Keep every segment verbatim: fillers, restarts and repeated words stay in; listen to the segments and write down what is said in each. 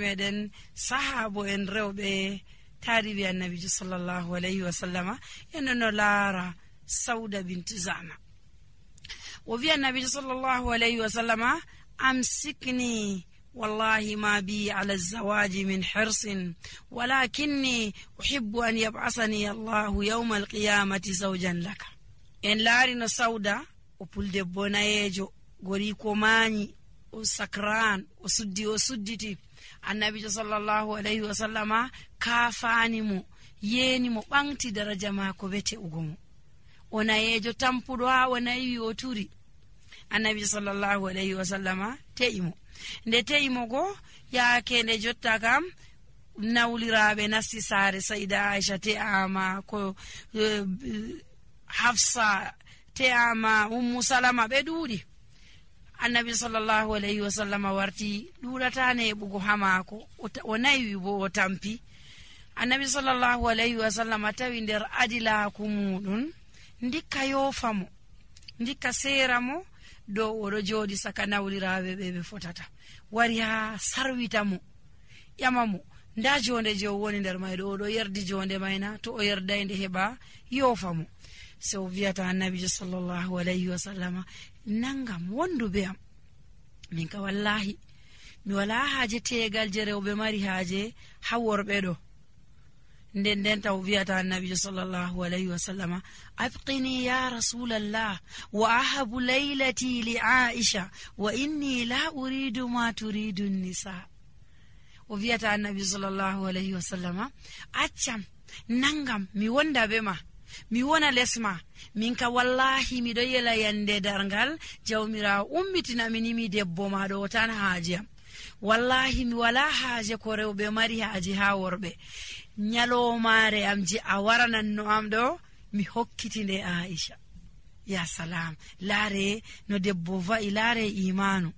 meɗen sahabo en rewɓe taribi annabijo sallallahu alayhi wa sallama en no laara Sauda bintu Zama. O wi annabijo sallallahu alayhi wa sallama amsikni wallahi ma bi ala zawaji min hirsin walakinni uhibbu an yab'asani Allahu yawma alqiyamati zawjan laka. En laari no Sauda o puldebbo nayejo gori ko mañi o sakran o suddi o sudditi annabijo sallallahu alayhi wa sallama kafani mo yeni mo ɓangti daraja mako bete ugomo o nayejo tampuɗo ha o nayi o turi annabijo sallallahu alayhi wa sallama te'imo nde te'imo go yaake nde jotta kam nawliraɓe nasti saare Sayda Aisha te'ama ko uh, Hafsa te'ama Ummu Salama ɓe ɗuuɗi annabi sallallahu alayhi wa sallama warti ɗuɗatane ɓugo ha mako o naywi bo o tampi annabi sallallahu alayhi wa sallama tawi nder adilaku muɗum ndikka yofamo ndikka sera mo dow oɗo joɗi saka nawliraɓe ɓe ɓe fotata wari ha sarwita mo ƴama mo nda jonde je o woni nder mayɗo oɗo yerdi jonde mayna to o yerdayde heɓa yofa mo so wiyata annabijo sallallahu alayhi wa sallama nangam wondu be am min ka wallahi mi wala haaje tegal je rewɓe mari haaje ha worɓe ɗo nden nden taw wiyata annabijo sallallahu alayhi wa sallama abqini ya rasulallah wa ahabu laylati li Aisha wa inni la uridu ma turidu nisa. O wiyata annabijo sallallahu alayhi wa sallama accam nangam mi wonda be ma mi wona lesma min ka wallahi mi do yela yande dargal jawmira ummitina minimi debbo ma do tan haajiyam wallahi mi wala haaje ko rewbe mari haaje ha worbe nyalomaare am ji a waranan no am do mi hokkitinde Aisha. Ya salam, laare no debbo va'i laare imanu.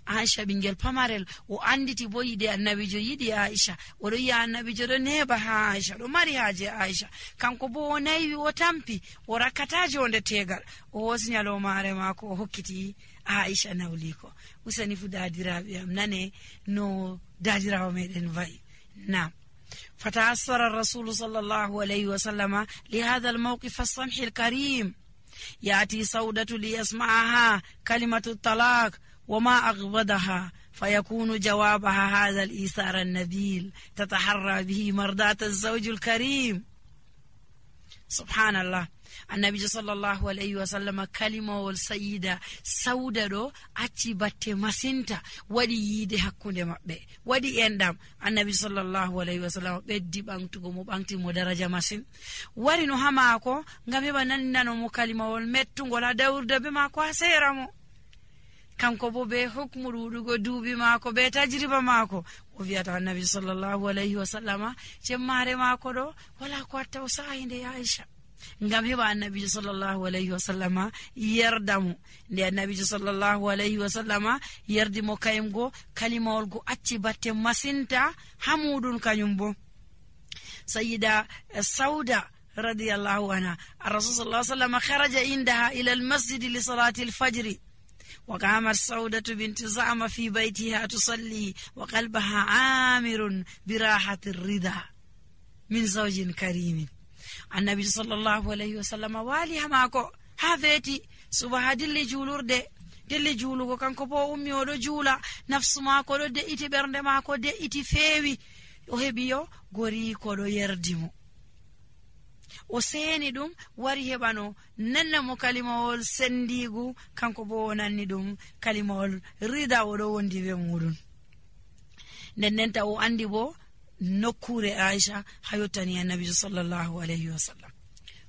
Aisha bingel pamarel o anditi bo yide annabijo yidi Aisha o do ya annabijo do neba ha Aisha do mari haaje Aisha kanko bo o nayi o tampi o rakata jonde tegal o hosnyalo mare mako o hokkiti Aisha nawliko usani fu dadirabe am nane no dadirawo meden vai na فتأثر الرسول صلى الله عليه وسلم لهذا الموقف السمح الكريم يأتي سودة ليسمعها كلمة الطلاق وما أغبضها فيكون جوابها هذا الإيثار النبيل تتحرى به مرضاة الزوج الكريم. سبحان الله. النبي صلى الله عليه وسلم كلمة والسيدة سودة دو أتي باتي مسنتا ودي يدي حكوندي مبه ودي اندام النبي صلى الله عليه وسلم بدي بانتو مبانتي مدرجة مسن وري نو هماكو ngami bananda no mukalima wol mettu ngola dawurde be mako aseramo kanko bo be hukmu rudugo duubi mako be tajriba mako o wiata annabi sallallahu alayhi wa sallama jemmare mako do wala ko taw sainde ya Aisha ngam heba annabi sallallahu alayhi wa sallama yerdamu nde annabi sallallahu alayhi wa sallama yerdi mo kayimgo kalimawol go acci batte masinta hamudun kanyumbo. Sayyida Sauda radiyallahu anha ar-rasul sallallahu alayhi wa sallama kharaja indaha ila al-masjid li salati al-fajr وقامت سودة بنت زعم في بيتها تصلي وقلبها عامر براحة الرضا من زوج كريم. النبي صلى الله عليه وسلم والي ماكو هافيتي سبها دلي جولور دي دلي جولو كانكو بو أمي ودو جولا نفس ماكو دو دي إتي برند ماكو دي إتي فيوي وهبيو غوري كودو يردمو o seni dum wari hebano nanna mo kalimawol sendigu kanko bo nanni dum kalimawol rida wodo wondi be mudun nennenta o andi bo nokkure Aisha hayotani annabi sallallahu alayhi wasallam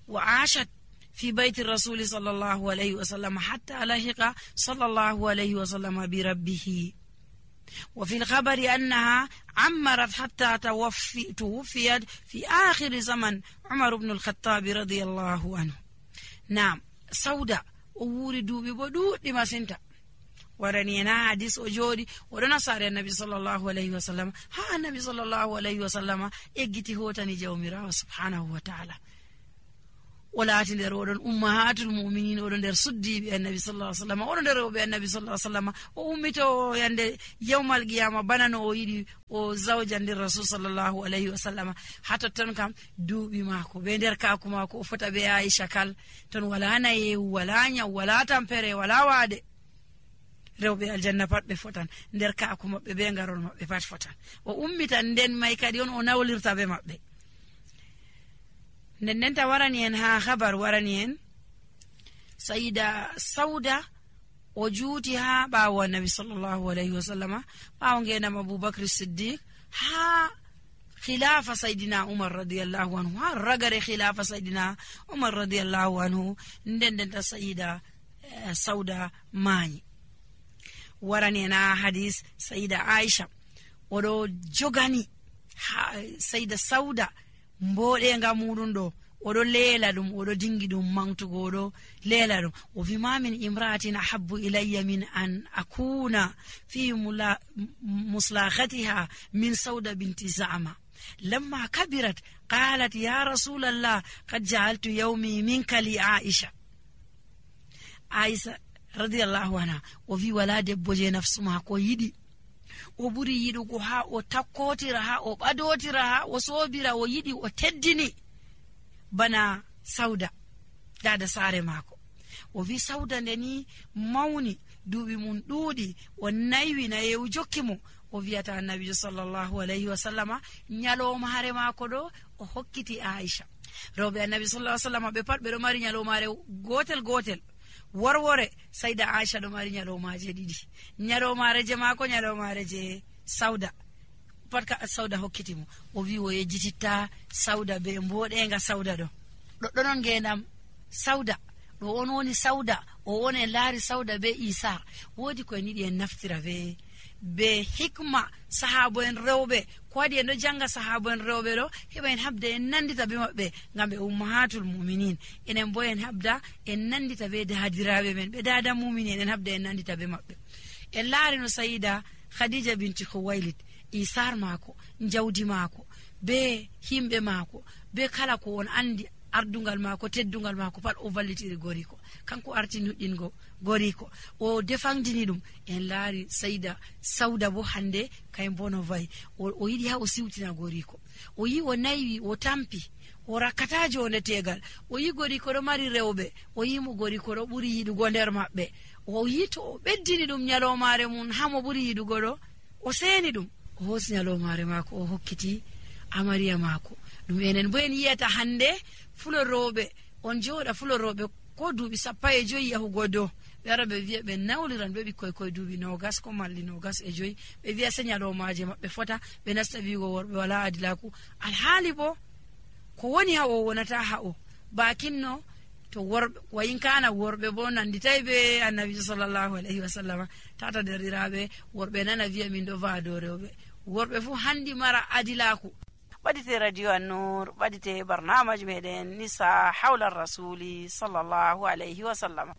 wa ashat fi bayti rasul sallallahu alayhi wasallam hatta lahiqa sallallahu alayhi wasallam bi rabbih. وفي الخبر أنها عمرت حتى توفي توفيت في آخر زمن عمر بن الخطاب رضي الله عنه. نعم سودة ووردوا ببدو لما سنتا ورنينا حديث أجوري ورنا صار النبي صلى الله عليه وسلم ها النبي صلى الله عليه وسلم إجتي هو تاني جوميرا سبحانه وتعالى o laati nder oɗon ummahatul muminin, oɗo nder suddiɓe annabi sallallahu alaihi wasallam, oɗo nder rewɓe annabi sallallahu alaihi wasallam. O ummito yande yawmal qiyama bana no o yiɗi o zawja nder rasul sallallahu alaihi wasallam. ha totton kam duuɓi maako be nder kaku maako o fota be Aisha kal ton wala nayewu, wala nyaw, wala tampere, wala waade. rewɓe aljanna pat ɓe fotan, nder kaku maɓɓe be ngarol maɓɓe pat fotan. o ummitan nden may kadi on o nawlirta be maɓɓe. nden nden ta warani en ha habar warani en sayida sauda o juuti ha ɓawo annabi sallallahu alaihi wasallama, ɓawo ngenam aboubacre siddiq, ha khilafa saydina umar radiyallahu anhu, ha ragare khilafa saydina umar radiyallahu anhu. nden nden ta sayida eh, sauda mayi. warani en ha hadis sayida aisha oɗo jogani ha sayida sauda mboɗenga muɗum ɗo, oɗo leela ɗum, oɗo dingi ɗum mantugo, oɗo leela ɗum. o wi ma min imra'atin ahabbu ilayya min an akuna fi muslahatiha min sauda binti za'ma lamma kabirat qalat ya rasulallah qad ja'altu yawmi minka li aisha. aisha radiyallahu anha o wi wala debbo je nafsu mako yiɗi o ɓuri yiɗugo ha o takkotira, ha o ɓadotira, ha o sobira, o yiɗi o teddini bana sauda dada saare maako. o wi sauda ndeni mawni, duuɓi mum ɗuuɗi, o naywi nayewu jokki mo. o wiyata annabijo sallallahu alaihi wasallama nyalomare maako ɗo o hokkiti Aisha. rewɓe annabi sallallahu alaihi wasallama ɓe pat ɓe ɗo mari nyalomare gotel gotel. worwore sayda Aisha ɗo mari nyalomaje ɗiɗi, nyalomare je maako, nyalomare je sauda pat ka sauda hokkiti mo. o wi o yejjititta sauda be mboɗenga sauda ɗo ɗoɗɗo non ngenam sauda ɗo on woni sauda, o woni en laari sauda be isar. woodi ko en yiɗi en naftira be be hikma sahabo en rewɓe, ko waɗi en ɗo janga sahabo en rewɓe ɗo heɓa en habda en nandita be maɓɓe ngam ɓe ummahatul muminin. enen bo en habda en nandita be dadiraɓe men, ɓe dada muminin, en habda en nandita be maɓɓe. en laari no sayida khadija binti khuwailid, isar maako, jawdi maako, be himɓe maako, be kala ko on andi ardungal maako, teddungal maako pat o vallitiri goriko. kanko arti nuɗɗingo goriko, o defandini ɗum. en laari sayida sauda bo hande kay bono vayi, o yiɗi ha o siwtina goriko, o yi o naywi, o tampi, o rakkata jonde tegal. o yi goriko ɗo mari rewɓe, o yimo goriko ɗo ɓuri yiɗugo nder maɓɓe. o yi to o ɓeddini ɗum nyalomare mum hamo ɓuri yiɗugo ɗo, o seni ɗum, o hosi nyalomare maako o hokkiti amariya maako. ɗum enen bo en yiyata hande fuloroɓe, on joɗa fuloroɓe ko duuɓi sappo e joyi yahugo dow, ɓe ara ɓe wiya ɓe nawliran ɓe ɓikkoy koye duuɓi nogas ko malli nogas e joyi, ɓe wiya se nyalomaje maɓɓe fota, ɓe nasta wigo worɓe wala adilaku. alhaali bo ko woni ha o wonata ha o bakinno to worɓe wayinkana worɓe bo nanditay be annabijo sallallahu alaihi wasallama. tata derɗiraɓe worɓe nana wiya min ɗo vaado rewɓe, worɓe fu handi mara adilaku. ɓadite radio annur, ɓadite barnamaji meɗen nisa hawla rasuli sallallahu alaihi wasallama.